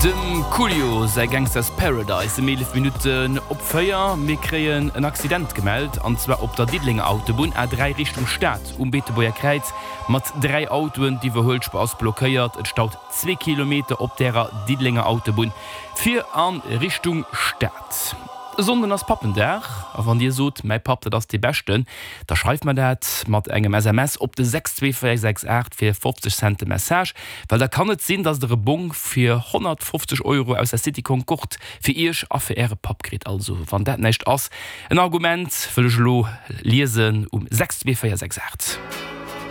Dem Coolio säi Gangsta's Paradise ëm 11 Minutten op 4. Mir kréien en Accident gemellt, an zwar op der Diddelenger Autobunn, A3 Richtung Stad, um Beetebuerger Kräiz mat 3 Autoen. D'Iwwerhuelspuer ass blockéiert, et staut zwee Kilometer op därer Diddelenger Autobunn fir a Richtung Stad. E Sonnden ass Pappendag a wann Dir sot, mäi Papp dat ass dee Beschten, da schreift mer dat mat engem SMS op de 62468 fir 50 Cent de Message, well da kann et sinn, dass Der e Bong fir 150 Euro aus der City Concorde fir Iech a fir Äre Papp kritt. Also wann dat näischt ass en Argument, wëll ech elo liesen um 62468.